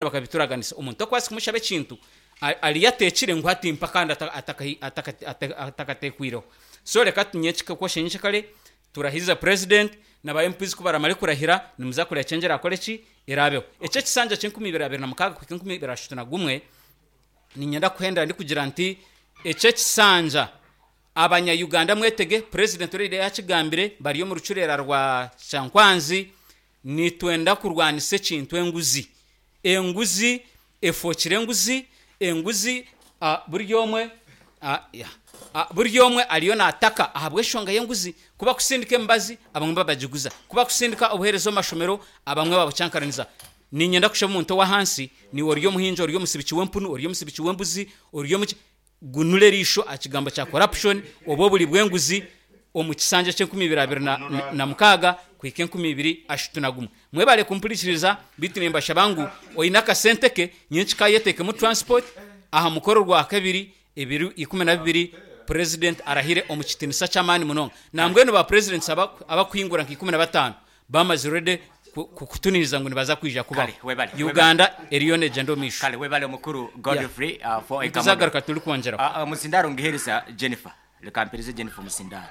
Bakabituraganisa. Omuntu okubaasa kumushaba ekintu ariyo ateekire ngu hati mpa kandi atakateekwireho. So reka tunyekye nyekyekare turahize president na ba MPs ku baramare kurahira nimuza kureba change erakore ki? Eraabeho. Eki ekisanja ky'enkumi ibiri abiri na mukaaga kuhika enkumi ibiri ashatu na gumwe niinyenda kuhendera ndikugira nti eki ekisanja Abanya Uganda mwetege, president already yakigambire bari omu rucureera rwa Kyankwanzi Nitwenda kurwanisa ekintu enguzi. Enguzi efookire enguzi, enguzi buri omwe buri omwe ariyo naataka ahabw'enshonga y'enguzi. Ku bakusindika emibazi abamwe babagiguza, ku bakusindika obuheereza omu mashomero abamwe babucankaraniza. Niinyenda kushaba omuntu ow'ahansi, niiwe ori omuhingi, ori omusibiki w'empunu, ori omusibiki w'embuzi, ori omuki, Gunura eriisho aha kigambo kya corruption oba oburi bw'enguzi omu kisanja ky'enkumi ibiri abiri na mukaaga kuhika enkumi ibiri ashatu na gumwe. Mwebare kumpurikiriza beitu nimbashaba ngu oine akasente ke nyenkika ayeteekemu transport aha mukoro Orwakabiri ebiro 12 President arahire omu kitinisa ky'amaani munonga. Nambwenu ba Presidents abakuhingura nka 15 Bamazire already kukutuniriza ngu nibaza kwija kubaho. Kale webale webale. Uganda eriyo negyenda omu maisho. Kale webale mukuru Yeah. Godfrey for Ekamodo. Nituzagaruka turikwongyeraho. Omuzindaaro ngihereza Jennifer. Reka mpereze Jennifer omuzindaaro.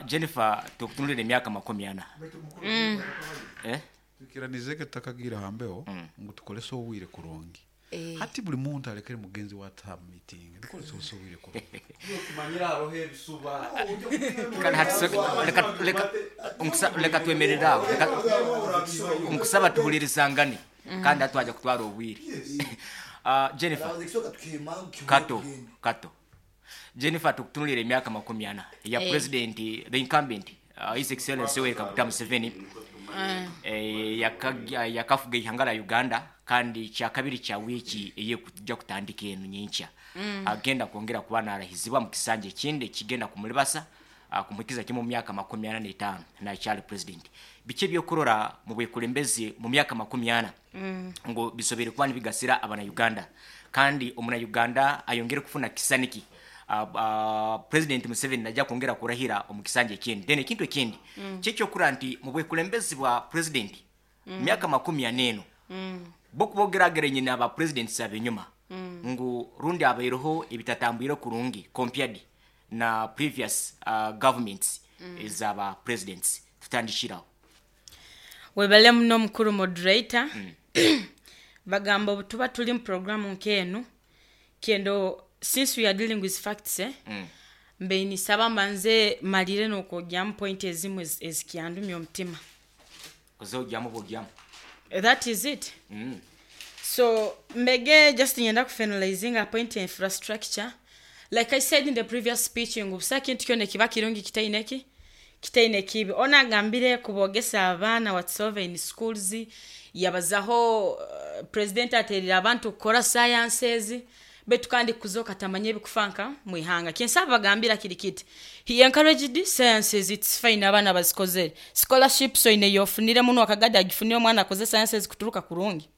Jennifer tukutunulire emyaka 40. Eh? Twikiranize ke tutakagiire aha mbeho ngu tukorese obwire kurungi. Hati buri muntu arekere mugenzi we ata aha meeting. Tukorese busa obwire kurungi. Kale hati so- leka leka nkusa leka twemerere aho. Leka nkusaba tuhulirizangane kandi hati twaja kutwara obwire. Ah, Jennifer Kato Kato. Jennifer tukutunulire emyaka 40 eya president the incumbent His Excellency Yoweri Kaguta Museveni yakafuga eihanga rya Uganda kandi kyakabiri kya wiiki eyekuja kutandika enu nyenkya agenda kwongera kuba narahizibwa omu kisanja ekindi ekigenda kumuribasa kumuhikiza kimwe omu myaka 45 nakyali president. Biki ebyokurora mu bwekulembezi mu myaka 40 ngu bisoboire kuba nibigasira abana Uganda kandi omuna Uganda ayongere kufuna kisani ki President Museveni naija kwongera kurahira omu kisanja ekindi. Then ekintu ekindi kyekyokurora nti mubwekulembezi bwa President myaka 40 eno bokuba ogeragerenye naba Presidents abenyuma ngu rundi habaireho ebitatambwire kurungi compared na previous governments ezaba Presidents. Tutandikire aho. Webale muno mukuru moderator. Bagamba obutuba turi mu program nk'enu, kyenda since we are dealing with facts eh, mbaire nisaba mbanze malire n'okwogyamu point ezimwe ezikyandumya omutima. Oze ogyamu bwogyamu. That is it. So mbege just niinyenda ku finalizinga aha point ya infrastructure. Like I said in the previous speech ngu busaho kintu kyona ekiba kirungi kitaine ki? Kitaine kibi. Onu agambire ku boogesa abaana whatsoever in schools, yabazaho president atereire abantu kukora sciences, beitu kandi kuzooka tamanya ebikufa nka mwihanga. Kyensaba bagambira kiri kiti, he encouraged sciences it's fine abaana bazikozere, scholarships oine eyofuniremu nowakagadi agifunire omwana akoze sciences kuturuka kurungi.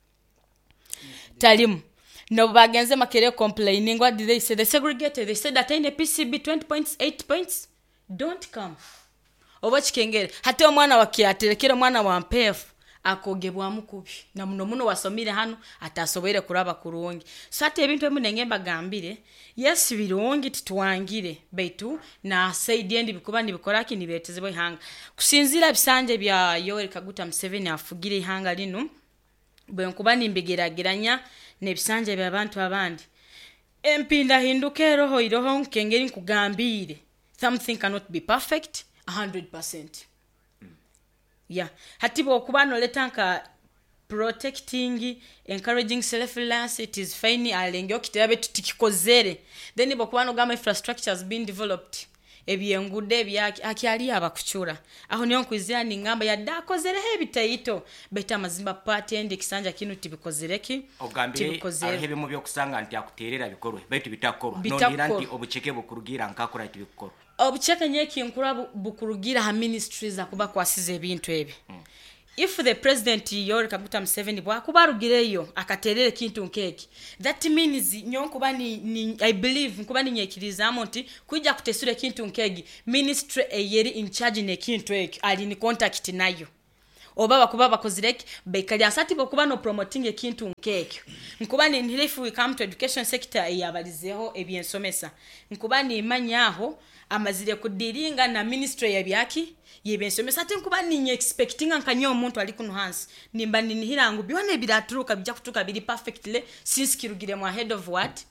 Tarimu. Nobu bagenze Makerere complaining what did they say? They segregated, they said ataine PCB 20 points, 8 points don't come. Oba okikengere? Hati omwana wa Kyaterekere omwana wa Mpeefu akogebwamu kubi na muno muno owasomire hanu atasoboire kuraba kurungi. So hati ebintu ebi nenge mbagambire, yes birungi titwangire baitu na side endi bikuba nibikora ki? Nibiretezebwa eihanga. Kusinziira aha bisanja ebya Yoweri Kaguta Museveni afugire eihanga rinu, bwenkuba nimbigerageranya n'ebisanja eby'abantu abandi, empindahinduka eroho iroho nk'engeri nkugambiire, something cannot be perfect a hundred percent. Yeah. Hati bw'okuba nooleta nka protecting, encouraging self reliance, it is fine, alengeho kitebe beitu tikikozere. Then bw'okuba noogamba infrastructure has been developed, eby'enguudo ebyaki, hakyariyo abakucura. Aho niho nkwizira ningamba yadde akozereho ebitaito beitu amazima part endi ekisanja kinu tibikozire ki? Ogambire Tibikozere. hariho ebimwe eby'okusanga nti akuteerera bikorwe beitu bitakukorwa. Noonihira nti Bitakukorwa. obuceke bukurugiira nkakura tibikukorwa. Obuceke nyowe ekinkura bukurugiira aha ministries akuba akwasize ebintu ebi. If the president Yoweri Kaguta Museveni bwakuba arugireyo akaterera ekintu nk'eki, that means nyowe nkuba ni, ni, I believe nkuba ninyekiririzaamu nti kwija kutesura ekintu nk'egi, ministry eyeri in charge n'ekintu ekyo ari in contact nayo. Oba bakuba bakozire ki? Baikali ahansi hati bwokuba no promotinga ekintu nk'ekyo. Nkuba ninhira if we come to education sector eyabalizeho ebyensomesa, nkuba nimanya aho amazire ku dealinga na ministry yebyaki? Yebyensomesa. Hati nkuba ninye expectinga nka nyowe omuntu ari kunu hansi, nimba ninihira ngu byona ebiraturuka bija kuturuka biri perfectly since kirugire mwa head of what?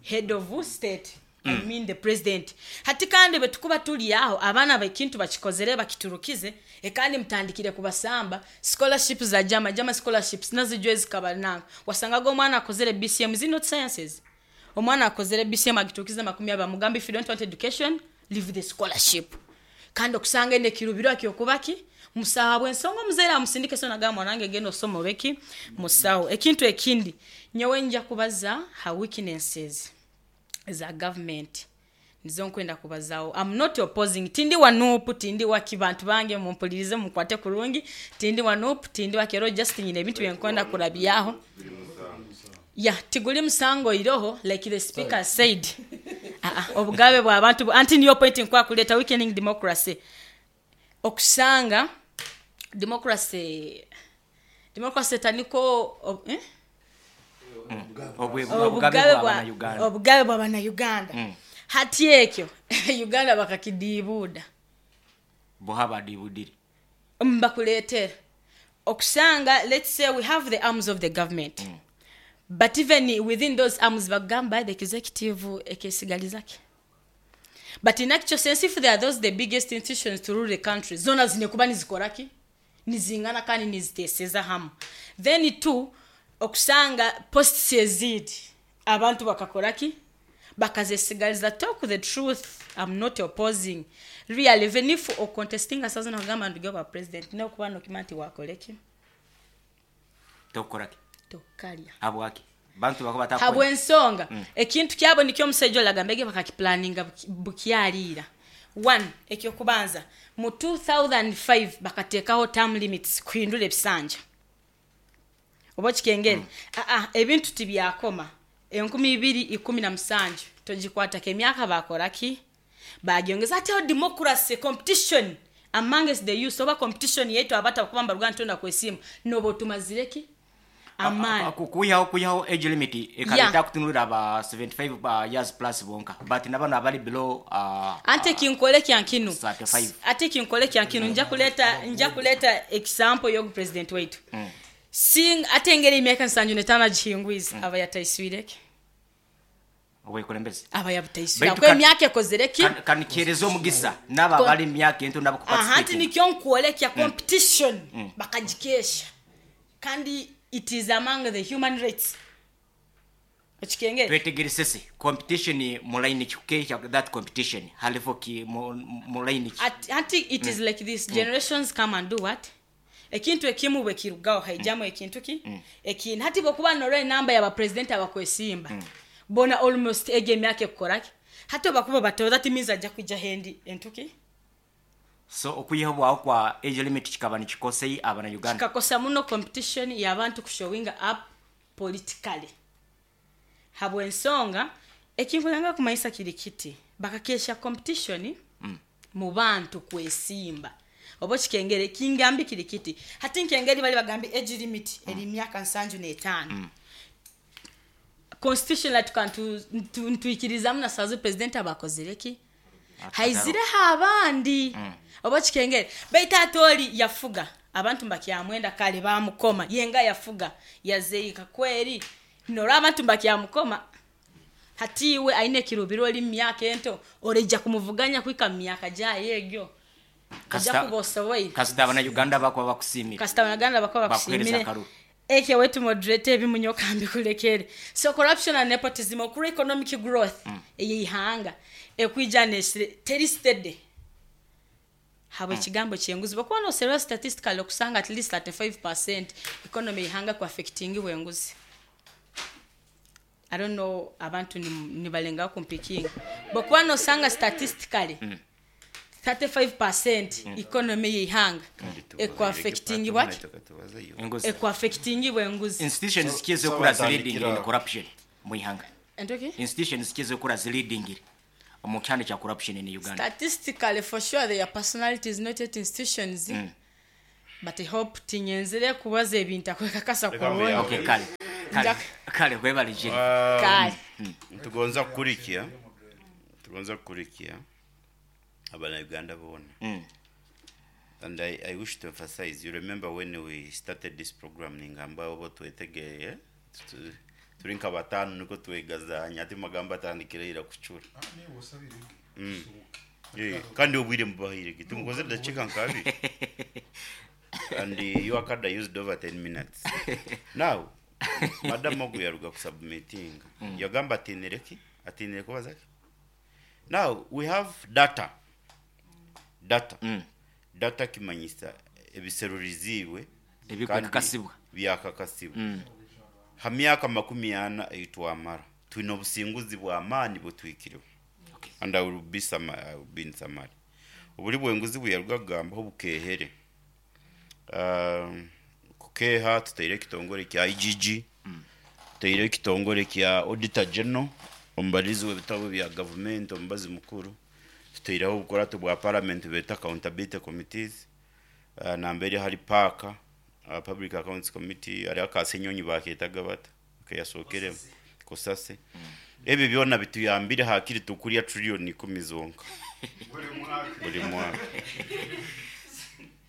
Head of state, I mean the president. Hati kandi bwetukuba turi aho abaana ekintu bakikozere bakiturukize, kandi mutandikire kubasamba, scholarship za jama, jama scholarships nazo zikaba nanka. Wasangaga omwana akozere BCM, is it not sciences? Omwana akozere BCM agiturukize 20, bamugamba if you don't want education, leave the scholarship. Kandi okusanga ene kirubiro kyokuba ki? Musaho habw'ensonga omuzaire amusindike so nagamba mwana wange genda osome obe ki? Musaho. Ekintu ekindi, nyowe nja kubaza ha weaknesses za government. Nizo nkwenda kubazaho. I'm not opposing. Tindi wa NUP, tindi wa ki, bantu bange mumpulirize munkwate kurungi. Tindi wa NUP, tindi wa kero, just nyine ebintu byenkwenda kurabyaho. Ya, tiguli musango iroho, like the speaker said. Obugabe bwa bantu, anti niyo point nkwa kuleta weakening democracy. Okusanga democracy, democracy taniko, ob, eh? Obugabe bwa Bannayuganda. Obugabe bwa Bannayuganda. Hati ekyo Uganda bakakidiibuuda. Boha badiibudire. Mbakuleetera. Okusanga, let's say we have the arms of the government. But even within those arms bagamba the executive ekesigalizaki. But in actual sense, if they are those the biggest institutions to rule the country, zona zinekuba nizikoraki? Nizingana kandi niziteseza hamu. Then two, okusanga posts ezindi abantu bakakoraki? Bakazesigaliza. Talk the truth, I'm not opposing. Really, even if o contesting asazo nagamba nduge ba president, no kuba no kimanti wakoleki? Tokoraki. Tokalya. Habwaki? Bantu bako batakora. Habwensonga. Ekintu kyabo nikyo omusajja olagambege bakakiplaninga bukyaliira. One, ekyo kubanza mu 2005 bakateekaho term limits kuhindura ebisanja. Oba okikengere? Ebintu tibyakoma. 2017 togikwatako emyaka bakoraki? Bagyongeza. Ate democracy competition amongst the youth, oba competition yetu abata kubamba Rwanda tonda kwesimu nobo tumazireki amani. Kuyaho age limit ekaleta kutunulira aba 75 years plus bonka, but nabano abali below ante kinkole kyankinu. 35. Ate kinkole kyankinu, nja kuleta example yogu president wetu. Sing ate engeri emyaka 75 gihingwiza aba yataiswireke. Obukulembeze. Aba yabutaiswira. Kwe emyaka ekozereki? Kanikereza omugisa naba bali emyaka ento nabo kuparticipate. Anti nikyo nkuolekya competition bakagikesha. Kandi it is among the human rights. Ekikengere. Twetegeresese competition mu line kikesha that competition halifu ki mu line ki. Anti it is like this generations come and do what? Ekintu ekimu bwe kirugaho haijamu ekintu ki? Ekintu hati bokuba nore namba ya ba president abakwesimba. Bona almost ege emyaka ekukoraki. Hati bakuba bato that means ajja kujja hendi entuki. So okuyiha bwaho kwa age limit kikaba nikikosei abana Uganda. Kikakosa muno competition y'abantu kushowing up politically. Habwensonga ekinkulanga kumayisa kiri kiti bakakesha competition mu bantu kwesimba. Oba kikengere kingambi kiri kiti. Hati nkengeri bali bagambi age limit eri myaka 75. Constitution la tukantu ntuikirizamu na sazo president abakozereki. Haizireho abandi. Oba kikengere baita atori yafuga abantu mbakyamwenda kale bamukoma yenga yafuga yazeika kweri nora abantu mbakyamukoma. Hatiwe aine kirubiro oli myaka ento oreja kumuvuganya kwika myaka jaye egyo. Kasita kubosoboye. Kasita bana Uganda bakwa bakusimira. Kasita bana Uganda bakwa bakusimira. Eke wetu moderate ebimunyoka mbikulekere. So corruption and nepotism okura economic growth eyihanga ekwijanesire teri steady. Habwe ekigambo kyenguzi bakuba no serious statistical okusanga at least 35% economy ihanga ku affecting bwenguzi. I don't know abantu ni balenga kumpikinga. Bakuba no sanga statistically 35% economy yihanga ekwa affecting what? Ekwa affecting bwenguzi. Institutions kizo kura leading in corruption muihanga. Entoki? Institutions kizo kura leading mu kyane cha corruption in Uganda. Statistically for sure their personalities not yet institutions. But I hope tinyenzire kubaza ebi ntakwekakasa Reka kurungi. Okay, kale. Kale, kale webale Jennifer. Kale. Nitugonza kukurikya tugonza kukurikya abana-Uganda boona. And I wish to emphasize, you remember when we started this program, ningamba obo twetegeye, turi nka batano niko twegazanya, ati magambo atandikire ira kucura. Kandi obwire mubahire ki tumukoze dakika nkabiri and your card I used over 10 minutes. Now, Madam Ogu yaruga kusubmitting. Yagamba atinire ki? Atinire kubaza ki? Now, we have data. Data. Data kimanyisa ebiseruriziibwe Ebikwekakasibwa. kandi byakakasibwa. Ha myaka 40 eitwamara twine obusinguzi bw'amaani butwikireho. Okay. And I will be some, I will be in summary. Oburi bwenguzi buyaruga kugambaho bukehere. Kukeha tuteire ekitongore kya IGG, tuteire ekitongore kya Auditor General, omubarizi w'ebitabo bya gavumenti, omubazi mukuru, tuteireho obukurato bwa parliament beta accountability committees, nambere hari PAC, Public Accounts Committee, hari akasenyonyi baketaga bata, keyasokeremu kosase. Ebi byona bituyambire hakiri tukurya trillion 10 zonka buri mwaka.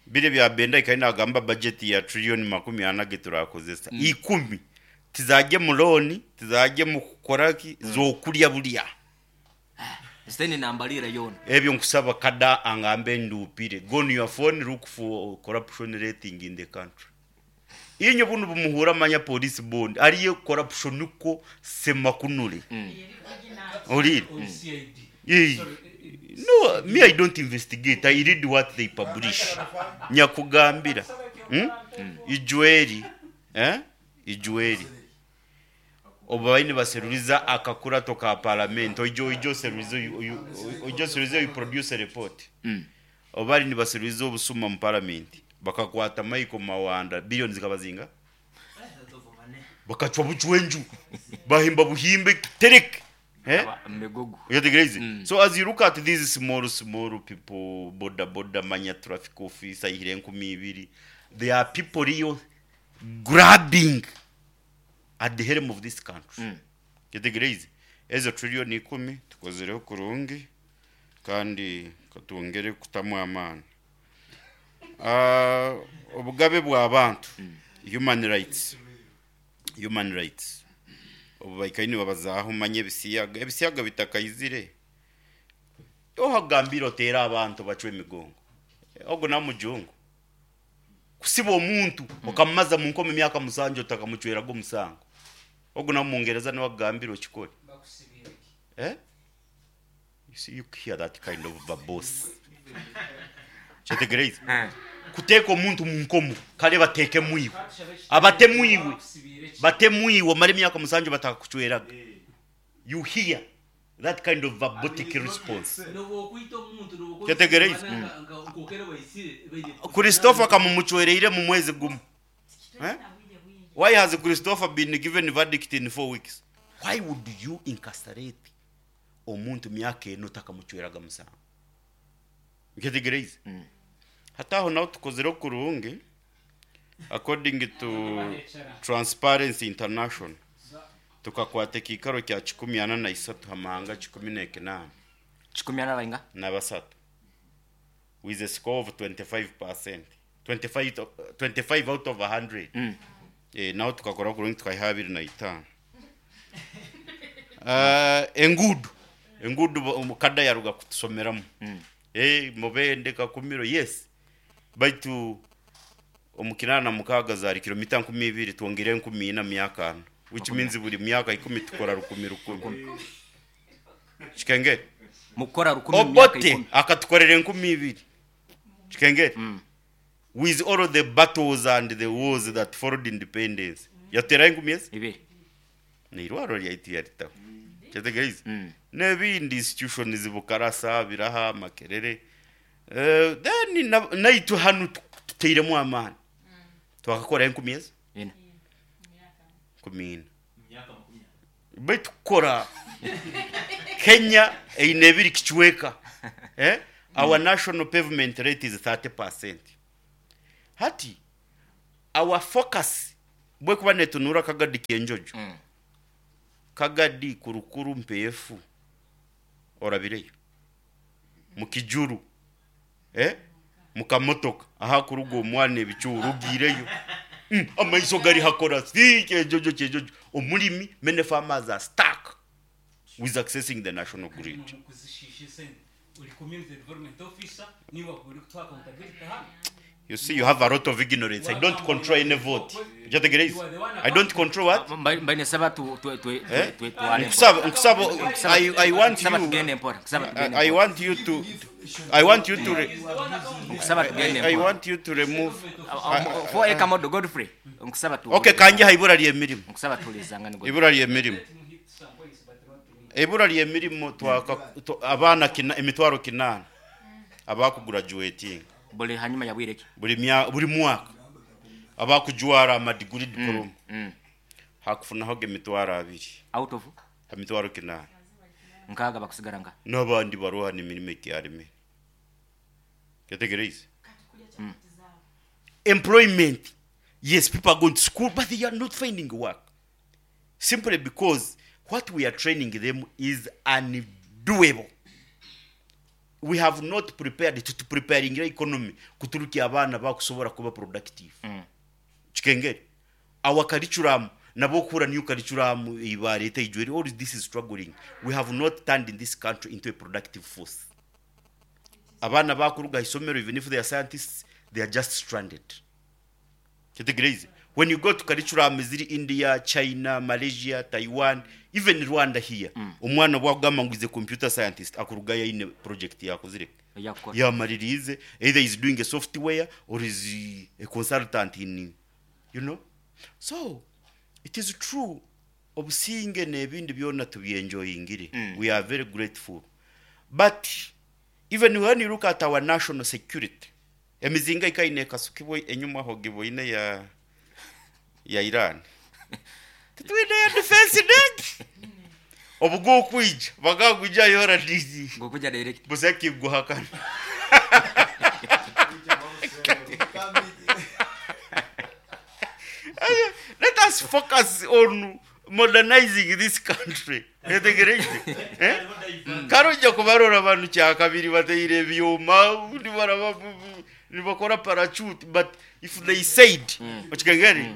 Bire bya benda ikari nagamba budget ya trillion 40 ge turakozesa 10 tizajye mu loan, tizajye mu kukoraki zokurya bulya. Siteni nambalira yona. Ebyo nkusaba kada angambe ndupire. Go on your phone, look for corruption rating in the country. Inyo bunu bumuhura manya police bond ariye corruption uko semakunure. Orire. No, me I don't investigate. I read what they publish. Nyakugambira. Ijueri. Ijueri. Obaini baseruriza akakurato ka parliament. Ojo seruriza ojo seruriza you produce a report. Obari ni baseruriza obusuma mu parliament. Bakakwata Michael Mawanda billions zikabazinga. Bakachwa buchwenju. Bahimba buhimbe terek. Mbegogo. You get crazy. So as you look at these small people, border manya traffic officer ihire nkumi ibiri, there are people real grabbing at the helm of this country. Get crazy. Ezo trillion 10 tukozereho kurungi kandi katwongere kutamu amani. Obugabe bw'abantu, human rights. Human rights. Obubaikaini babazaho manye ebisiyaga, ebisiyaga bitakayizire. Ohagambira otera abantu bacwe emigongo. Ogo na mujungu. Kusiba omuntu okamaza mu nkoma emyaka 7 otakamucwerago omusango. Ogo na Mungereza niwe agambira okikore. You see, you hear that kind of verbose. Kyetegereze. Kuteeka omuntu mu nkomo kale bateeke mwiwe. Abatemwiwe. Batemwiwe mara emyaka 7 batakakucweraga. You hear that kind of verbotic response. Kyetegereze. Christopher kamumucwereire mu mwezi gumu. Why has Christopher been given verdict in 4 weeks? Why would you incarcerate omuntu myaka eno takamucweraga musango? Kyetegereze. Hataho naho tukozere kurungi according to Transparency International tukakwata ekikaro kya 43 hamahanga 18. 14 bainga? Na basatu with a score of 25%. 25 out of 100. Naho tukakora kurungi tukayiha 25. Engudu omukada yaruga kutusomeramu. Mubende kakumiro, yes. Baitu omukinana mukaga zari kilomita 20 twongere 14 myaka 4, which means buri myaka 10 tukora rukumi rukumi. Chikenge mukora rukumi myaka 10. Obote akatukorera 20. Chikenge with all the battles and the wars that followed independence. Yatera 10 yes? Ibiri. Ni irwaro ryaitu yaritaho. Kyetegereze. N'ebindi institutions bukarasa biraha makerere. Then naitu hanu tuteiremu amani. Twakakora 10 yes? Ina. 14. Baitu kukora Kenya eine ebiri kichweka. Our national pavement rate is 30%. Hati our focus bwekuba netunuura Kagadi Kyenjojo, Kagadi, Kurukuru, Mpeefu, orabireyo? Mukijuru, eh? Mukamotoka ahakuruga omwana ebicuuru ogiireyo? Amaiso gari hakora si Kyenjojo, Kyenjojo. Omurimi, many farmers are stuck with accessing the national grid. You see, you have a lot of ignorance. I don't control any vote. Okyetegereize? I don't control what? Mbaire ninsaba tu- tu- tu- Eh? tu- tware Nkusaba, mpora. nkusaba, I, I want Nkusaba you, tugende mpora. Nkusaba tugende I mpora. want you to, I want you to, re, Nkusaba tugende I, I mpora. want you to remove. For Ekamodo Godfrey. Nkusaba tu. Okay, kanje ha ibura ly'emirimo. Nkusaba tulizangane Godfrey. Ibura ly'emirimo. Ibura ly'emirimo twaka abaana kina, emitwaro kinaana abakugurajuwetinga Buli hanyuma ya bwire ki? buli mya, buli mwaka abakujwara amadiguri diploma hakufunaho emitwaro abiri Out of emitwaro kinaana nkaaga bakusigara nga n'abandi baroha n'emirimo ekyaremere. Ketegereize? Employment. Yes, people are going to school, but they are not finding work. Simply because what we are training them is undoable. We have not prepared to preparing the economy kuturukia abaana bakusobora kuba productive. Kikengeri. Our curriculum, nabokura new curriculum ibareta ijweri, all this is struggling. We have not turned in this country into a productive force. Abaana bakuruga isomero, even if they are scientists, they are just stranded. Kitegereize? When you go to curriculum ziri India, China, Malaysia, Taiwan, even Rwanda here, omwana bwagamba ngu is a computer scientist, akuruga yaine project yakozire. Yakukora. Yamaririize, either is doing a software or is a consultant in, you know. So, it is true, obusinge n'ebindi byona tubyenjoyingire. We are very grateful. But even when you look at our national security, emizinga ikaine ekasukibwe enyuma aho giboine ya Iran. Titwine ya defense negi. Obugo kwija bagaguja yora dizi. Ngokuja direct. Buseki guhakana. Let us focus on modernizing this country. Yetegereize? Eh? Karojja kubarora abantu kyakabiri bateire ebyuma, nibakora parachute, but if they said, okikengeri,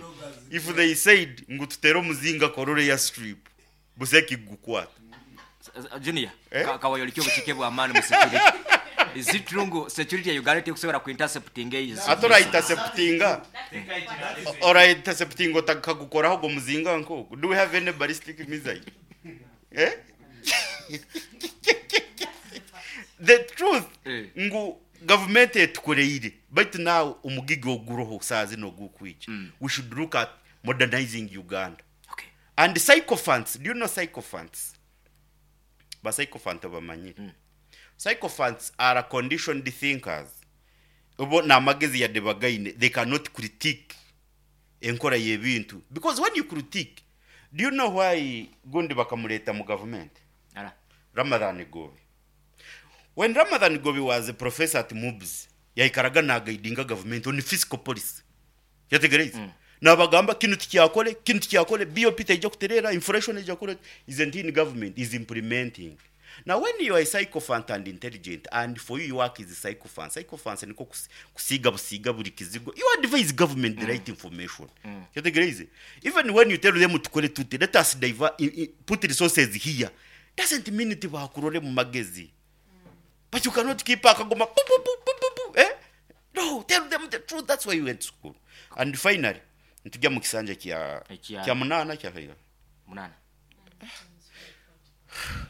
if they said ngu tutere omuzinga korore ya strip, buseki gukwata. Junior, Eh? kawayo likyo buchike bwa amani mu security. Is it true ngu security ya Uganda tekusobora ku intercepting eyizi? Ate ora interceptinga. Ora intercepting otakagukoraho go muzinga nko. Do we have any ballistic missile? Eh? The truth ngu government etukoreire, but now omugigi oguroho saazi nogukwija. We should look at modernizing Uganda. Okay. And sycophants, do you know sycophants? Ba sycophant obamanyire. Sycophants are conditioned thinkers. Obo n'amagezi yadde bagaine, they cannot critique enkora y'ebintu. Because when you critique, do you know why gundi bakamureta mu government? Ara. Ramadhan Gobi. When Ramadhan Gobi was a professor at MUBS, yaikaraga nagaidinga government on fiscal policy. Yategereize? Nabagamba kinu tikyakole, kinu tikyakole, BOP teija kuterera, inflation eija kukora, isn't in government, is implementing. Now when you are a sycophant and intelligent, and for you your work is a sycophant, sycophant niko kusiga busiga buri kizigo, you advise government the right information. Yategereize? Even when you tell them tukole tuti, let us divert, put resources here, doesn't mean it bakurore mu magezi. But you cannot keep akagoma pu, pu, pu, pu, pu, pu, eh? No, tell them the truth. That's why you went to school. And finally, ntujya mu kisanja kya Ekya- kya munana kya kaira. Munana.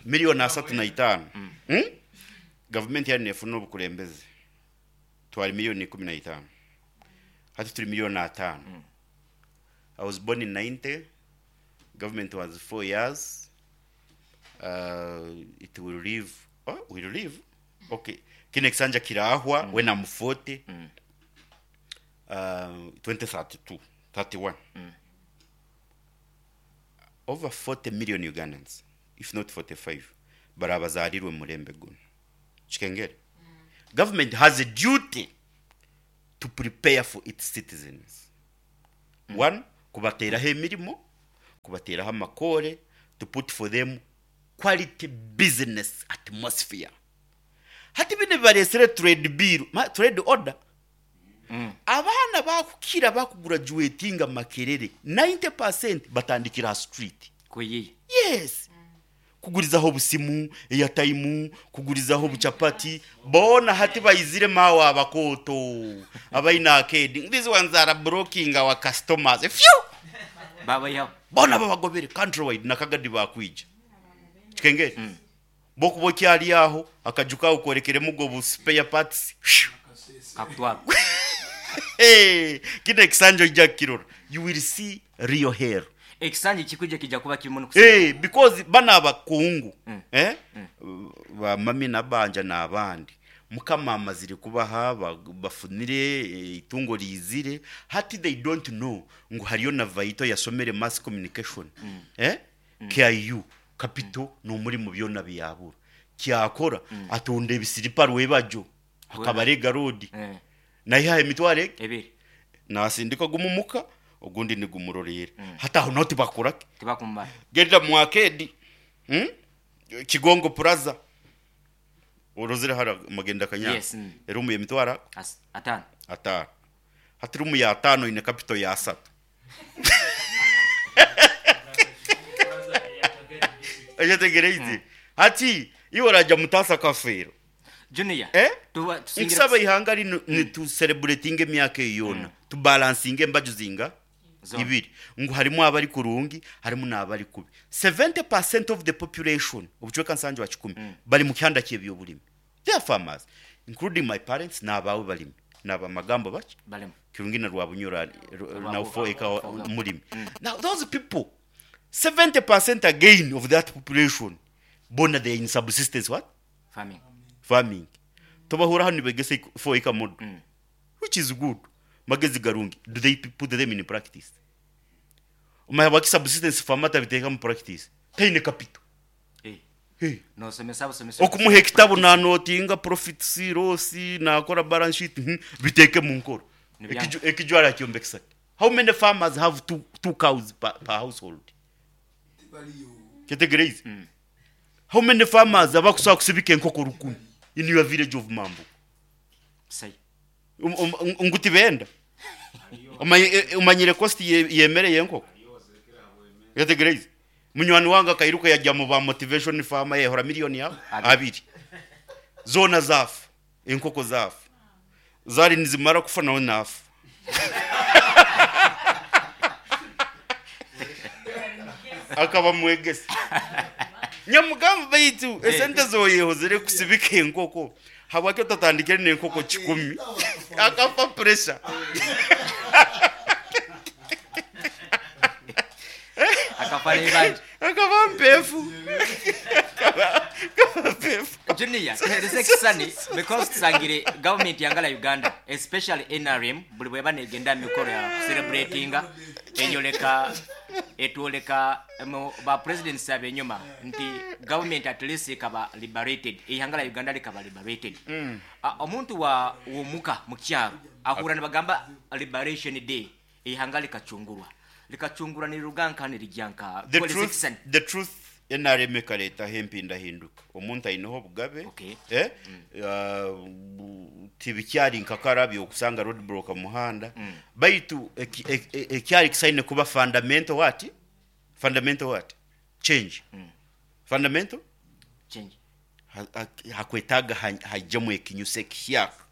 Milioni asatu na itaano. Government yari nefuna obukulembeze. Twali milioni ikumi na itaano. Hati tuli milioni ataano. I was born in 90. Government was 4 years. It will live. Oh, will live. Okay. Kine kisanja kirahwa when I'm 40. 2032, 31. Over 40 million Ugandans, if not 45, barabazarirwe murembe guno. Kikengere. Government has a duty to prepare for its citizens. One, kubateeraho emirimo, kubateeraho amakoore, to put for them quality business atmosphere. Hati binu ebibareetsire trade bill, trade order, abaana bakukira bakugurajuwetinga Makerere, 90% batandikira aha street. Kuyiiya. Yes. Kugurizaho obusimu, airtime, kugurizaho obuchapati, boona hati baizire maawe abakooto abaine arcade, these ones are blocking our customers, phew! Babaihaho. Boona babagobere country wide na Kagadi bakwija. Kikengeri? Bwokuba okyari aho, akaju kaawe korekeremu go bu spare parts, phew! Kakutwara. Kinu ekisanja oija kukirora, you will see real hell. Ekisanja ekikwija kija kuba kirimu n'okusiima. Eh, because banu abakungu eh, ba Mami Nabanja n'abandi, Mukama amazire kubaha, bafunire, eitungo riizire, hati they don't know ngu hariyo na Vaito yasomere Mass Communication, eh, KIU, Capital n'omurimo byona byabura. Kyakora, atunda ebisiripa rwebagyo, akabarega road, naihaho emitwaro egi? Ebiri. Naasindika gumwe omuka, ogundi nigumuroreera. Hati aho naho tibakora ki? Tibakumubara. Genda mu arcade, Kigongo Plaza, orozire hara Magenda Kanyanga? Yes. Eruumu y'emitwaro Ataano. Ataano. Hati ruumu ya ataano eine capital ya asatu. Oyetegyereize? Hati iwe oragya mutaasa kafeero. Junior, Eh? tuba tusingire Nkusaba eihanga rinu nitu celebratinga emyaka eyo yoona, tu balancinge embaju zinga? Zoona. Ibiri. Ngu harimu abari kurungi, harimu n'abari kubi. 70% of the population, obucweka nsanju aha kikumi, bari mu kihanda ky'eby'oburimi. They are farmers, including my parents n'abaawe barimi. N'abamagambo baki? Barimi. Kirungi na Rwabunyoro ari, na 4 acre murimi. Now those people, 70% again of that population, boona they are in subsistence what? Farming. Farming. Tobahura hanu nibegesa 4 acre model, which is good. Magezi garungi. Do they put them in practice? Omanya habwaki subsistence farmer atabiteeka mu practice? Taine capital. Eh. Hey. Nosomesa busomesa. Okumuha ekitabo nanotinga profits, loss, nakora balance sheet, biteeke mu nkora. Nibyanga. Ekiju arakyombekesa ki? How many farmers have two cows per household? Kyetegereize? How many farmers abakusobola kusibika enkoko rukumi in your village of Mambo? Sai. Ngu tibenda. Omanyire cost y'emere y'enkoko? Kyetegereize? Munywani wange akairuka yajya mu ba motivation farmer yehora million ya abiri. Zoona zaafa. Enkoko zaafa. Zaari nizimara kufa nawe naafa. Akaba mwegesa. Nyamugamba baitu esente zoyehozire kusibika enkoko habwaki otatandikire n'enkoko kikumi? Akafa pressure. Akafa n'eibanja. Akaba mpefu. Akaba mpefu. Junior, tuhereze ekisani because tusangire government yangala Uganda, especially NRM, buli bweba negenda mikoro ya celebratinga eyoleka etwoleka mu ba presidents abenyuma nti government at least ekaba liberated, eihanga la Uganda likaba liberated. Omuntu wa womuka mukyaro ahura nibagamba liberation day, eihanga likacungurwa, likacungurwa niriruga nka nirijya nka The Tuhereze truth, ekisani. the truth, NRM ekareetaho empindahinduka. Omuntu aineho obugabe. Okay. Tibikyari nka karabyo okusanga road block omu muhanda. Baitu ekyari kisaine kuba fundamental what? Fundamental what? Change. Fundamental? Change. Hakwetaaga haijemu ekinyusi ekihyaka.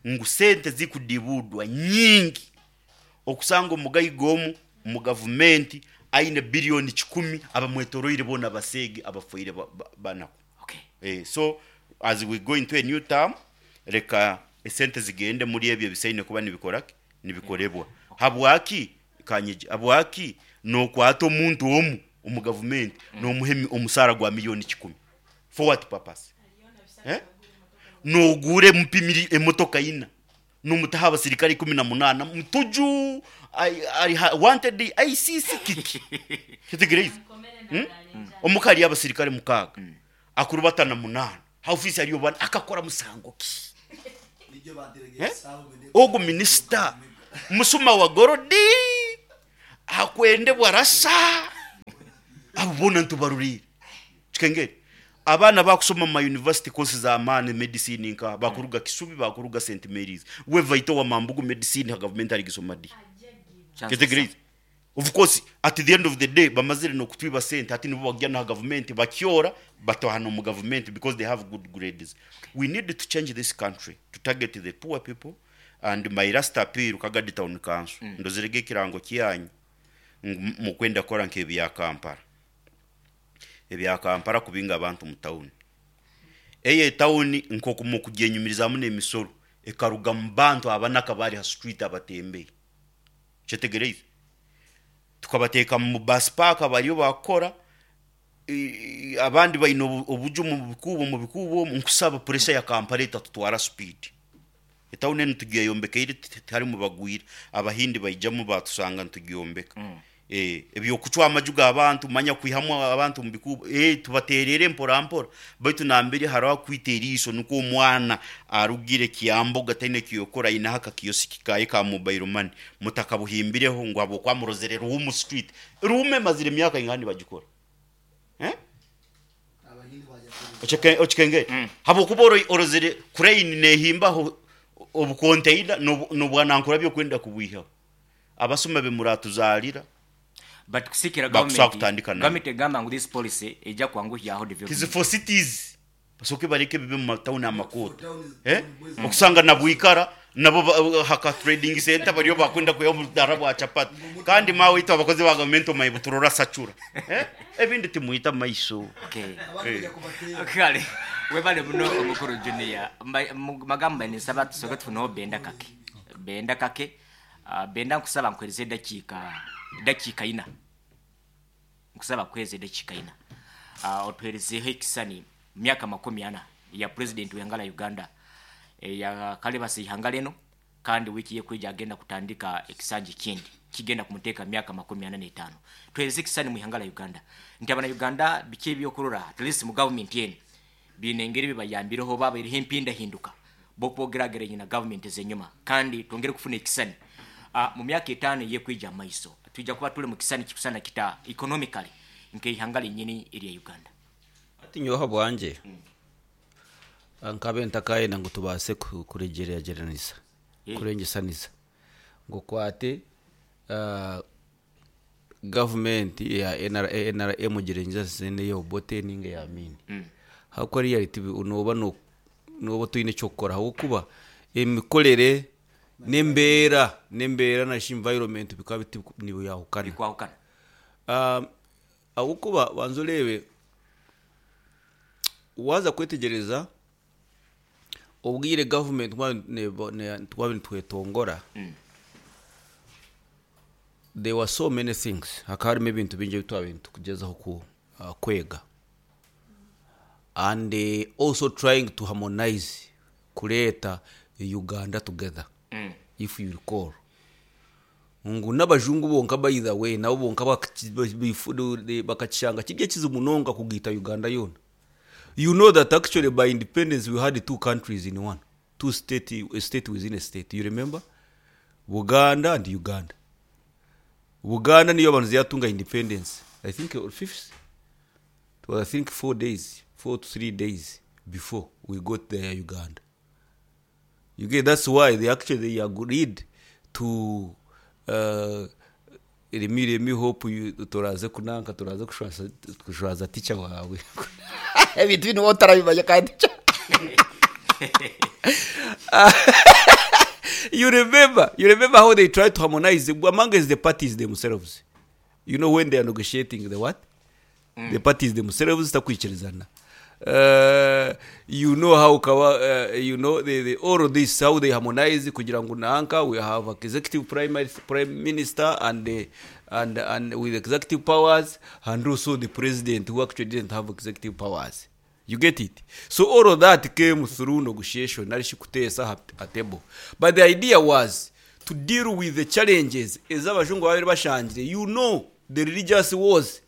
Ngu sente zikudibudwa nyingi. Okusanga omugaiga omu omu gavumenti aine biliyoni kikumi abamwetoroire boona abaseege abafoire banaku. Okay. So as we go into a new term, reka esente zigende muri ebyo ebisaine kuba nibikora ki? Nibikorebwa. Habwaki kanyigi? Habwaki nokwata omuntu omu omu gavumenti nomuha omusaara gwa miliyoni kikumi? For what purpose? Noguura emupimiri emotoka ina nomutaho abasirikare 18 mutuju ari wanted ICC kiki? Kitegereize? Omuka hariyo abasirikare 6 akuru batana 8 ha ofiisi hariyo bana akakora musango ki? Eh? Ogu minisita musuma wa gorodi akwendebwa rasa abo boona nitubaruriire. Kikengeri abaana bakusoma omu ma university course z'amaani medicine nka bakuruga Kisubi bakuruga St Mary's we vaita owa Mambugu medicine ha gavumenti arigisoma di? Kyetegereize? Of course at the end of the day bamazire nokutwiba sente hati nibo bakugya naha gavumenti bakyora bataaha nomu gavumenti because they have good grades. We need to change this country to target the poor people and my last appeal Kagadi town council ndozire ge ekirango kyanyu ngu mukwenda kukora nkebya Kampala. Ebya Kampala kubinga abantu mu town. Eyo etauni nkoku mukugyenyumirizamu nemisoro ekaruga mubantu abanaka abari ha street abatembeyi. Kyetegyereize? Tukabateeka mu bus park bariyo bakukora, abandi baine obuju omu bikuubo omu bikuubo omu, nkusaba pressure ya Kampala etatutwara speed. Etauni enu tugyeyombekaire tiharimu bagwire, Abahindi baijamu batusanga nitugyombeka. Eby'okucwa amaju g'abantu manya kwihamu abantu omu bikuubo, tubateerere mpora mpora baitu nambere hariho akwita eriiso nikwo omwana arugire Kyambogo taine eki yokukora aineho akakiyosiki kaye ka mobile money mutakabuhimbireho ngu habw'okuba murozere Ruumu street. Ruumu emazire emyaka ingaha nibagikora? Okikengere? Habw'okuba orozere crane nehimbaho obukonteina n'obwanankura by'okwenda kubwihaho. Abasuma be muratuzarira But kusikira bakusobola government kutandika nawe. government egamba ngu this policy eija kwanguhyaho It is development. for cities basoke bareke bibe mu matawuni amakooto eh okusanga na Bwikara nabo ba- ha ka trading center bariyo bakwenda kwiha obudara bwa chapati kandi maawe itwe abakozi ba gavumenti omaye buturora sacura eh ebindi timwita maiso Okay. eh. Kale webale muno omukuru Junior. Mba- mu magambo ninsaba tusoke tufuneho Benda Kake. Benda Kake Benda nkusaba nkuhereze edakiika edakiika ina. Nkusaba kuhereza edakiika ina. Otuherezeho ekisani myaka 40 ya president w'ihanga rya Uganda eyakalebasa eihanga rinu kandi wiiki y'ekwija agenda kutandika ekisanja ekindi kigenda kumuteeka myaka 45. Tuhereze ekisani mu ihanga rya Uganda nti abana Uganda biki ebyokurora at least mu government enu biine engeri bibayambireho oba habaireho empindahinduka bw'okuba ogerageranya na gavumenti ez'enyima kandi twongere kufuna ekisani mu myaka etaano ey'ekwija omu maiso twija kuba turi mu kisani kikusana kita economically nk'eihanga rinyini erya Uganda. Hati nyowe ahabwangye nkabe ntakayenda ngu tubaase kuregyeregyeranisa, kurengyesanisa ngu okwate Gavumenti eya NRA, NRM ogirengyesanise n'eya Obote nainga eya Amin. Ahabw'okuba reality nooba nooba otaine eky'okukora ahabw'okuba emikorere n'embeera n'embeera nari shi environment bikaba nibyahukana. Bikwahukana. Ahabw'okuba banza oreebe waaza kwetegyereza Obwire gavumenti twaba nitwetongora, there were so many things, hakaba harimu ebintu bingi ebi twabaire nitukugyezaho kwega and also trying to harmonize kureeta Uganda together if you recall. Ngu n'abajungu bonka by the way nabo bonka bakakishanga kiri ekizibu munonga kugaita Uganda yoona. You know that actually by independence we had two countries in one, two state, a state within a state. You remember? Buganda and Uganda. Buganda niyo yabanza yatunga independence. I think fifth. It was I think 4 days, 4 to 3 days before we got there Uganda. You get that's why they actually they agreed to let me let me hope you toraze kunanka toraze kushwaza kushwaza teacher wawe ebintu binu waaba otarabimanya kandi teacher you remember you remember how they tried to harmonize amongst the parties themselves you know when they are negotiating the what the parties themselves zitakwikirizana you know how kawa you know the, the, all of this how they harmonize kugira ngu nanka we have executive prime, prime minister and, the, and, and with executive powers and also the president who actually didn't have executive powers you get it so all of that came through negotiation nari shi kuteesa aha aha table but the idea was to deal with the challenges ezi abajungu babaire bashangire you know the religious wars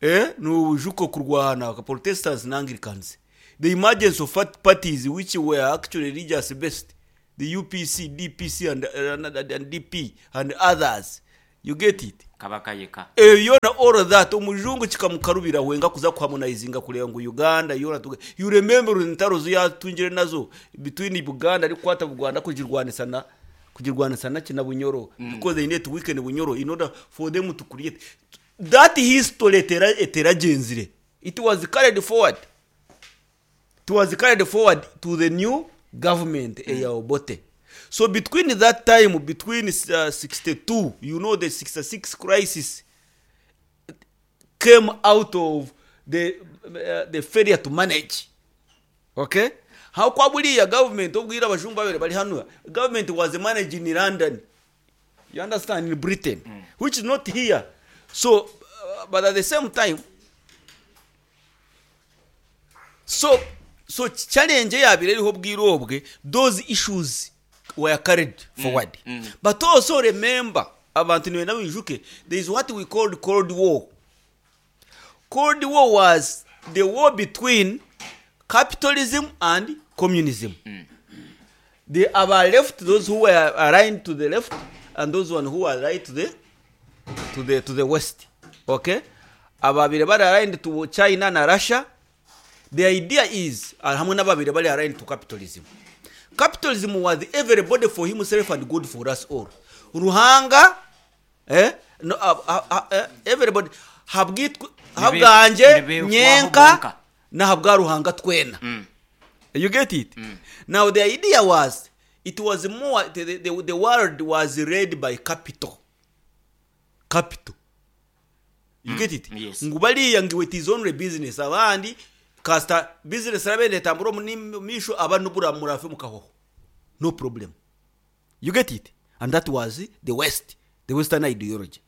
Eh, nobujuka okurwana nka Protestants na Anglicans. The emergence of parties which were actually religious based, the UPC, DPC and, and, and DP and others. You get it? Kabaka yeka. Ebyo byona all of that omujungu kikamukarubira wenka kuza kuharmonizinga kureba ngu Uganda yoona tuge you remember entaro zi yatungire nazo between Buganda arikukwata Buganda kugirwanisa na kugirwanisa naki na Bunyoro because they need to weaken Bunyoro in order for them to create that history etera eteragyenzire it was carried forward it was carried forward to the new government eya Obote so between that time between 62 you know the 66 crisis came out of the, the failure to manage okay how kwa buriya government obwira abajungu babiri bari hano government was managing in London you understand in Britain which is not here so but at the same time so so challenge eyabire eriho obwire obwe those issues were carried forward but also remember abantu nibenda bijuke there is what we called cold war. Cold war was the war between capitalism and communism. The our left, those who were aligned to the left, and those one who were right to the to the to the west. Okay, ababire bari aligned to China na Russia. The idea is hamwe n'ababire bari aligned to capitalism. Capitalism was everybody for himself and good for us all. Ruhanga eh no, everybody habwitwe habwanje nyenka na habwa Ruhanga twena. You get it? Now the idea was it was more the world was led by capital. Capital. You get it? Yes. Ngu bariya ngu it is only business abandi kasta business rabende tamburo misho abantu bura murafe mukahoho. No problem. You get it? And that was the West, the Western ideology.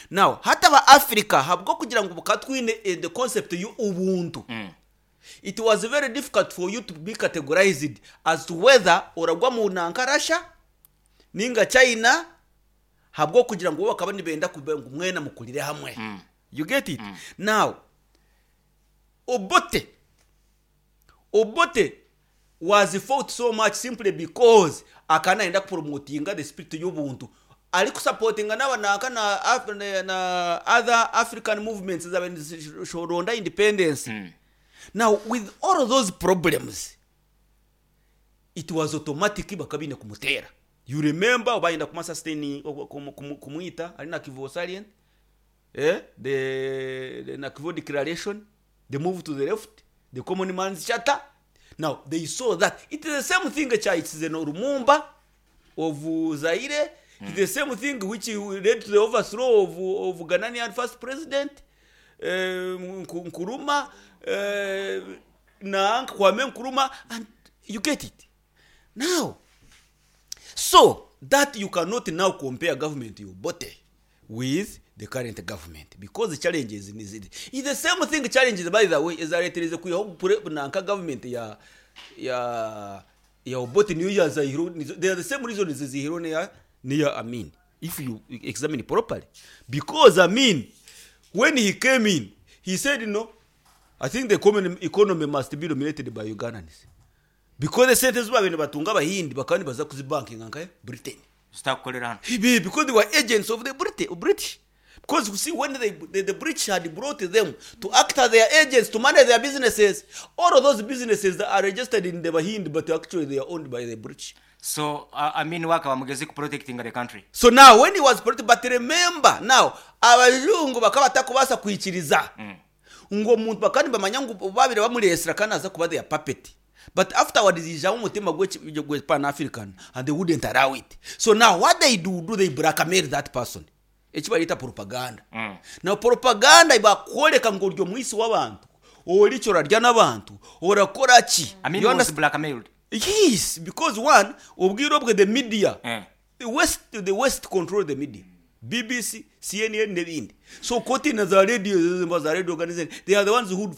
Now, hataba Africa habwo kugira ngo bukatwine the concept y'ubuntu. It was very difficult for you to be categorized as to whether oragwa mu nanka Russia ninga China habwo kugira ngo bakaba nibenda ngu mwena mukurire hamwe. You get it? Now, Obote was fought so much simply because akana enda promotinga the spirit y'ubuntu ari kusupportinga n'abanaka na, na other African movements zabenzoronda independence. Now with all of those problems it was automatic bakabine kumutera. You remember bayenda kumasustain kumwita ari na Kivu salient the Nakivubo declaration, the move to the left, the common man's charter. Now they saw that it is the same thing chaitse no Lumumba of Zaire. It's the same thing which led to the overthrow of Ghanaian first president Nkrumah, na Kwame Nkrumah, and you get it. Now, so that you cannot now compare government you Obote with the current government because the challenges is it is the same thing challenges by the way is that it is kwiho nanka government ya ya ya Obote niyo ya Zaire, they are the same reasons zihiro ya niya Amin if you examine properly, because Amin when he came in he said no, I think the common economy must be dominated by Ugandans because the sente babintu batunga abahindi bakaba nibaza kuzibankinga nka Britain. Zitakukorera hano. Because they were agents of the British. Because you see, when the British had brought them to act as their agents to manage their businesses, all of those businesses that are registered in the Bahindi, but actually they are owned by the British. So Amin wakaba mugezi ku protecting the country. So now when he was protected, but remember now abajungu bakaba batakubasa kwikiriza ngo omuntu bakandi bamanya ngu babire bamuresera kandi aza kuba their puppet. But afterwards ijamu umutima gwe Pan African and they wouldn't allow it. So now what they do, do they blackmail that person? Eki barita propaganda. Now propaganda ibakoreka ngo uryo mwisi w'abantu oricyo orarya n'abantu orakora ki? Amin You was understand? blackmailed. Yes, because one, obwiro bwe the media. The West control the media. BBC, CNN n'ebindi. So koti na za radio, za radio organization, they are the ones who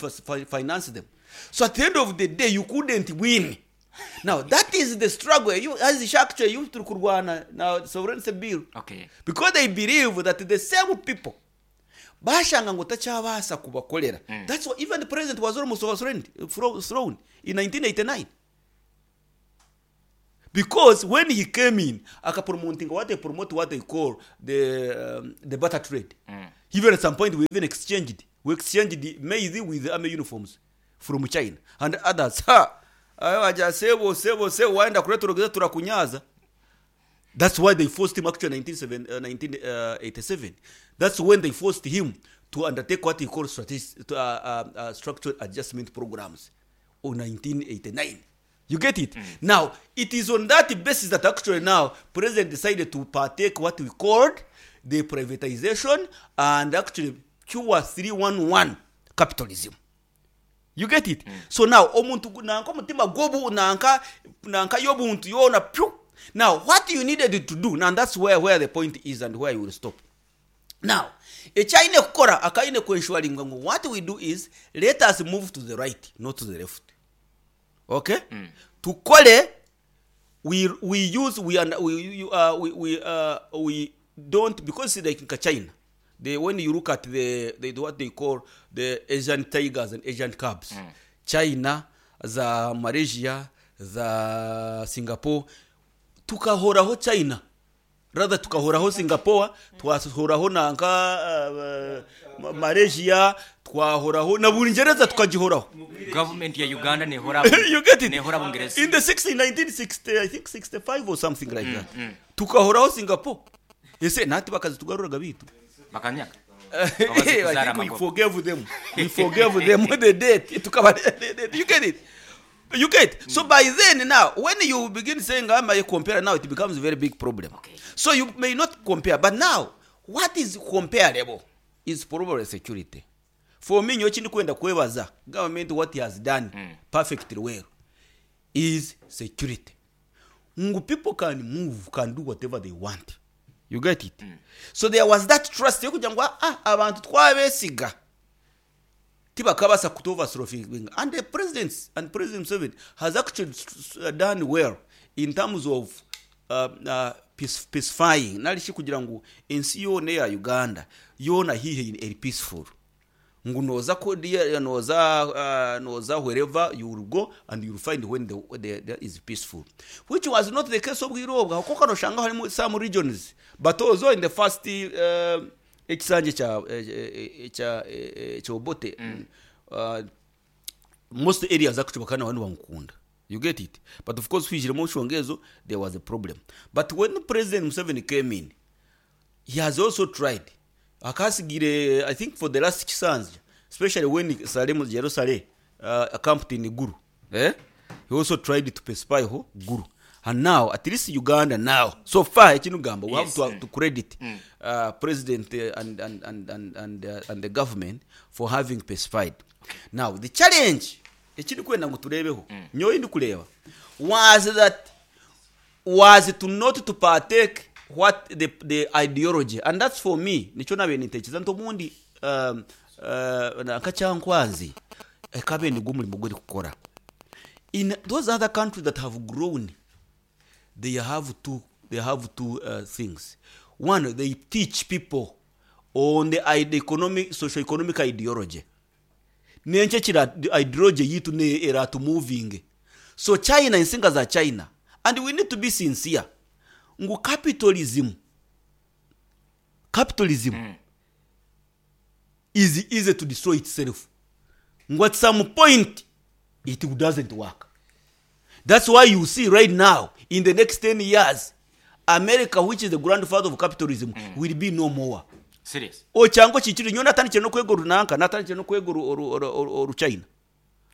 finance them. So at the end of the day, you couldn't win. Now, that is the struggle. You, as actually, you turi kurwana na sovereignty bill. Okay. Because they believe that the same people, Bashanga ngu takyabaasa kubakorera. That's why even the president was almost overthrown thrown in 1989. Because when he came in, akapromotinga what they promote what they call the the barter trade. Even at some point we even exchanged. We exchanged the maize with the army uniforms from China and others. Ha! Ayo aja sebo sebo sebo waenda kuleta turogeza turakunyaza. That's why they forced him actually in 1987. That's when they forced him to undertake what he called strategic, structural adjustment programs of 1989. You get it? Now, it is on that basis that actually now president decided to partake what we called the privatization and actually pure 311 capitalism. You get it? So now omuntu nanka omutima gwobu nanka nanka y'obuntu yoona pyu. Now what you needed to do, now that's where the point is and where you will stop. Now, ekyaine kukora akaine kwenshuringa ngu what we do is let us move to the right, not to the left. Okay? Tukore we use we and we you, we don't, because like in China, they when you look at the what they call the Asian tigers and Asian cubs, China, the Malaysia, the Singapore, tukahoraho China, rather tukahoraho Singapore, twahoraho nanka Malaysia, twahoraho na Bungereza tukagihoraho. Government ya Uganda nehora You get it? Nehora Bungereza. In the 60, 1960, I think 65 or something like that. Tukahoraho Singapore. Ese nati bakazitugaruraga bitu. Bakanyaka. I think we forgave them. We forgave them the debt. You get it? You get it? So by then now, when you begin saying, I may compare now, it becomes a very big problem. Okay. So you may not compare. But now, what is comparable is probably security. For me, nyochi kwenda kwebaza government what he has done perfectly well is security. Ngu people can move, can do whatever they want. You get it? So there was that trust. Yokugira ngu, abantu twabesiga. Tibakabasa kutoverthrowing. And the president and President Museveni has actually done well in terms of peacefying. Narishi kugira ngu ensi yona ya Uganda yona hihe in a peaceful. Ngu noza ko dia noza noza wherever you will go and you will find when the is peaceful, which was not the case of Bwirobwa kuko kano shanga harimo some regions, but also in the first ekisanje cha cha cha Obote, most areas actually bakana bantu bamukunda. You get it? But of course kwijiramo nshongezo there was a problem. But when President Museveni came in, he has also tried. Akasigire, I think for the last kisanja, especially when Salem Jerusalem camped in Guru, he also tried to pacify Guru. And now, at least Uganda now, so far, Echinugamba, we have to credit President and the government for having pacified. Now, the challenge, Echinukwenda ngu turebeho, nyowe ndikureba, was that was to not to partake what the ideology, and that's for me nicho nabe nitekereza nti obundi nkakyankwanzi ekabe nigwo omurimo gweri kukora. In those other countries that have grown, they have two things. One, they teach people on the economic, socio-economic ideology. Nenche kira ideology yitu ne era to moving. So China, insinga za China, and we need to be sincere. Ngu capitalism is easy to destroy itself. Ngu at some point it doesn't work. That's why you see right now, in the next 10 years, America, which is the grandfather of capitalism, will be no more. Serious. Ochango chichiri nyo natandikire no kwega runanka, natandikire no kwega oru China.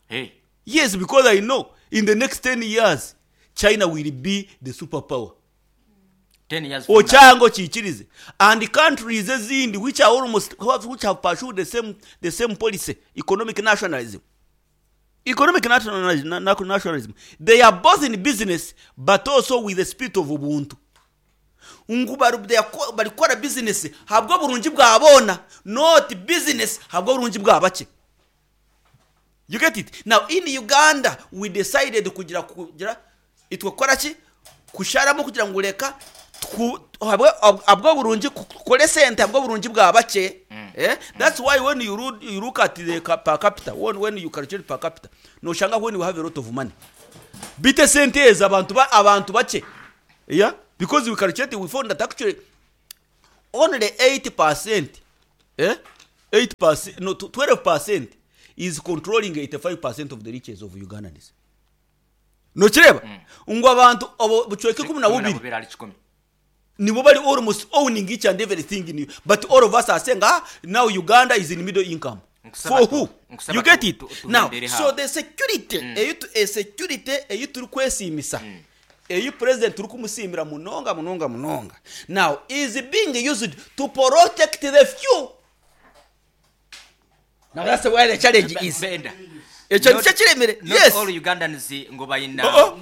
Hey. Yes, because I know in the next 10 years, China will be the superpower. 10 years. Ochango chichirize. And the countries ezindi which are almost, which have pursued the same policy, economic nationalism. Economic nationalism. They are both in business, but also with the spirit of Ubuntu. Ngu barikora business habwo burungi bwabona, not business habwo burungi bwabake. You get it? Now in Uganda we decided kugira itwakora ki kusharamo kugira ngo reka Tuku- habwe- Ahabw'oburungi kukora esente ahabw'oburungi bwa bakye. Eh? That's why when you, look, you look at the per capita, when you calculate per capita, noshanga when you have a lot of money. Beitu esente ezo abantu ba, abantu bakye. Yeah? Because we calculate, we found that actually only 8%, eh? 8%, no, 12% is controlling 85% of the riches of Ugandans. Nokireeba? Ngu abantu obu bucweka 12 12 ahari kikumi. Nibo bari almost owning each and everything in but all of us are saying ah now Uganda is in middle income. Nkusaba For tu- who? nkusaba You get tu- it? tu- Now, tugendere so aho. the security eyi tu- e security eyi turikwesiimisa eyi president turikumusiimira munonga munonga munonga now is being used to protect the few. Now that's where the challenge is. Benda. Ekyo Not- nikyo kiremire. Not Yes. all Ugandans ngu baina Oh,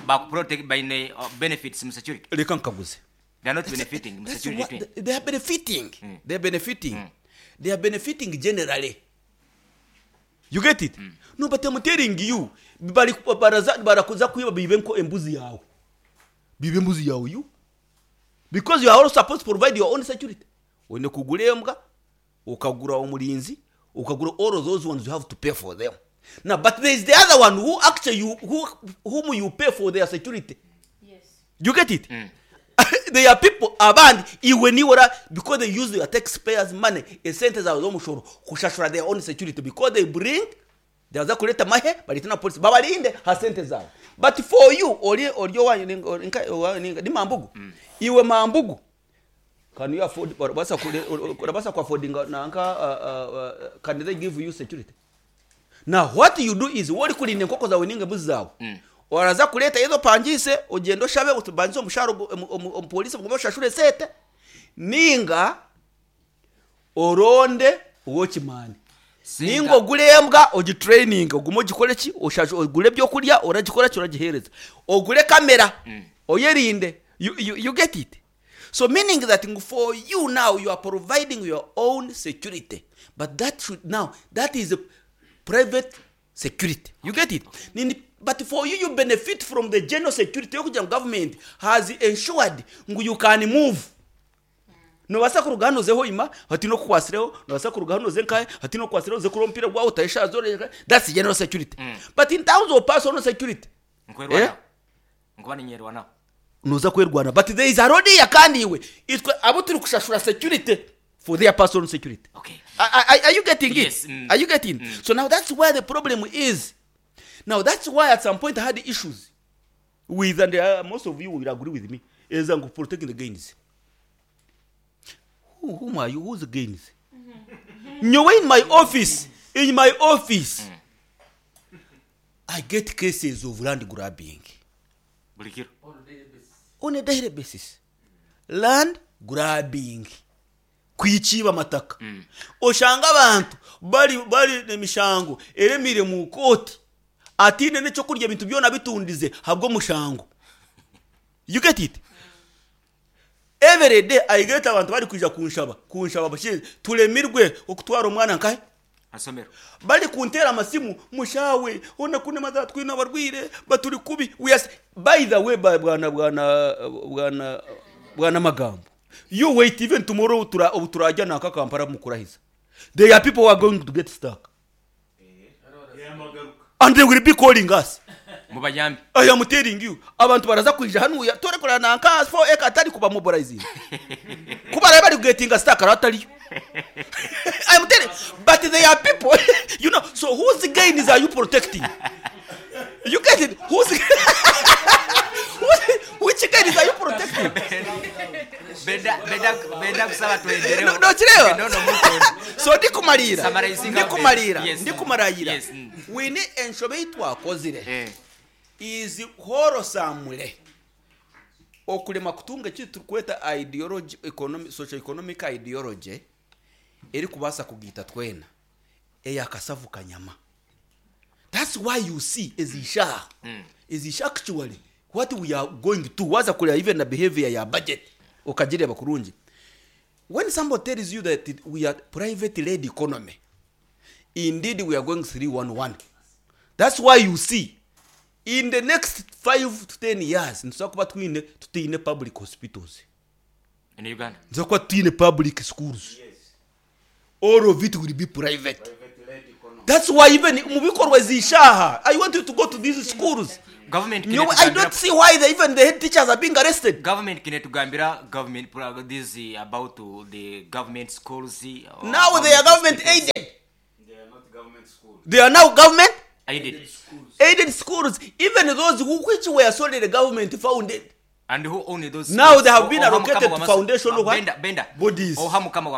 bakuprotect baine benefits mu security. Reka nkaguze. They are not benefiting mu That's security. what they are benefiting. They are benefiting. They are benefiting generally. You get it? No, but I'm telling you, bari baraza barakuza kwiba bibe nko embuzi yawe. Bibe embuzi yawe you. Because you are also supposed to provide your own security. Oine kugura embwa, ukagura omurinzi, ukagura all of those ones you have to pay for them. Now, but there is the other one who actually you, who, whom you pay for their security. Yes. You get it? There are people abandi iwe niwe because they use their taxpayers money esente zawe z'omushoro kushashura their own security because they bring baza kureeta amahe bareete na polisi babarinde ha sente zawe but for you ori ori owanyu ninga- ori nka- owanyu ninga- ni mambugu iwe mambugu can you afford orabasa kure- orabasa ku affordinga nanka can they give you security? Now what you do is wowe orikurinda enkoko zaawe ninga embuzi zaawe oraza kureeta ezo opangiise ogyende oshabe obanze omushahara omupoliisi ogume oshashure esente ninga oronde ow'okimaani ninga ogure embwa ogitrayininge ogume ogikore ki oshashure ogure ebyokurya oragikora ki oragiheereza ogure kamera oyerinde. You get it? So meaning that ngu for you now you are providing your own security but that should now that is private security. You get it? Nini, but for you you benefit from the general security yokugira ngu government has ensured ngu you can move. Nobaasa kuruga hanu oze Hoima hataine okukwasireho, nobaasa kuruga hanu oze nkahe hataine okukwasireho, oze kureba omupiira gwawe otahe eshaaha zoona. That's general security. But in terms of personal security, Nkwerwanaho. eh? Nkuba ninyerwanaho. Noza kwerwana but there is a road here kandi iwe itwe abu turi kushashura security for their personal security. Okay. Are you getting it? Yes. Are you getting? So now that's where the problem is. Now that's why at some point I had issues with, and most of you will agree with me, is protecting the gains. Whom are you? Who's the gains? Nyowe in my office, I get cases of land grabbing. Buri kiro. On a daily basis. Land grabbing. Kwikiiba amataka. Oshanga abantu bari bari emishango eremire mu kooti ataine n'ekyokurya ebintu byona bitundize ahabw'omushango. You get it? Every day I get abantu bari kwija kunshaba, kunshaba bashinze turemirwe okutwara omwana nkahe? Asomero. Bari kuntera amasimu mushawe ona kune maza twine abarwire baturi kubi. We are, by the way, bwana bwana bwana bwana magambo. You wait even tomorrow tura obu turajya naka Kampala mukurahiza. There are people who are going to get stuck. And they will be calling us. Mubayambe. I am telling you, abantu baraza kwija hanu ya tore kora nanka 4 acre atari kuba mobilizing. Kuba bari bari getting stuck aratari. I am telling, but they are people, you know, so whose gains are you protecting? You get it? Whose, whose which gains are you protecting? Benda benda benda kusaba tuendereho. No, no, kireeba? No, no, muko. So ndikumarira. Summarizing Ndikumarira. Yes. Ndikumarayira. Yes. We need enshobe ei twakozire. Is wholesamely okurema kutunga eki turikweta ideology, economic, socio economic ideology erikubaasa kugaita twena eya kasavu kanyama. That's why you see ezisha ezisha actually what we are going to waza kureba even the behavior ya budget okagireba kurungi. When somebody tells you that we are private led economy, indeed we are going 311. That's why you see In the next 5 to 10 years nituza kuba twine tutaine public hospitals. In Uganda. Nituza kuba tutaine public schools. All of it will be private. That's why even mu bikorwa zishaha, I want you to go to these schools. Government Nyowe, I don't see why even the head teachers are being arrested. Government kinetugambira government this about the government schools Now they are government hospitals. aided. They are now government Aided. Aided schools, even those which were solely government founded. And who own those Now schools? they have been Oha allocated mukama to wa foundation what? Benda, Benda. Bodies. Oha mukama wa